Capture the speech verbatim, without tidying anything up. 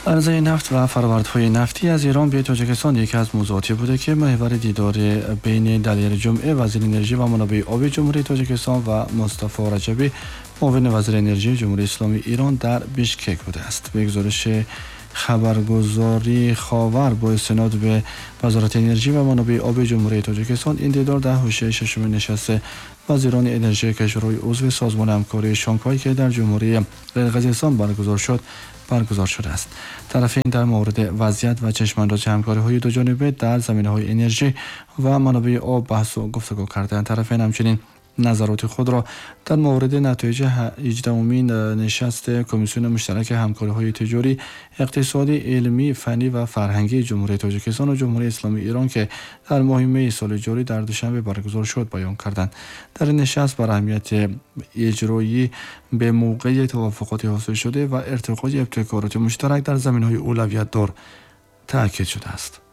عرضه نفت و فرآوردهای نفتی از ایران به تاجیکستان یکی از موضوعاتی بوده که محور دیدار بین دلیر جمعه، وزیر انرژی و منابع آب جمهوری تاجیکستان، و مصطفی رجبی، معاون وزیر انرژی جمهوری اسلامی ایران در بیشکک بوده است. به گزارش خبرگزاری خاور با استناد به وزارت انرژی و منابع آب جمهوری تاجیکستان، این دیدار در حاشیه ششمین نشست وزیران انرژی کشورهای عضو سازمان همکاری شانگهای که در جمهوری قرقیزستان برگزار شد برگزار شده است. طرفین در مورد وضعیت و چشمانداز همکاری های دو جانبه در زمینه های انرژی و منابع آب بحث و گفتگو کردند. طرفین همچنین نظرات خود را در مورد نتایج هجدهمین نشست کمیسیون مشترک همکاری های تجاری، اقتصادی، علمی، فنی و فرهنگی جمهوری تاجیکستان و جمهوری اسلامی ایران که در ماه می سال جاری در دوشنبه برگزار شد بیان کردند. در این نشست بر اهمیت اجرایی به موقع توافقات حاصل شده و ارتقای ابتکارات مشترک در زمینه های اولویت دار تاکید شده است.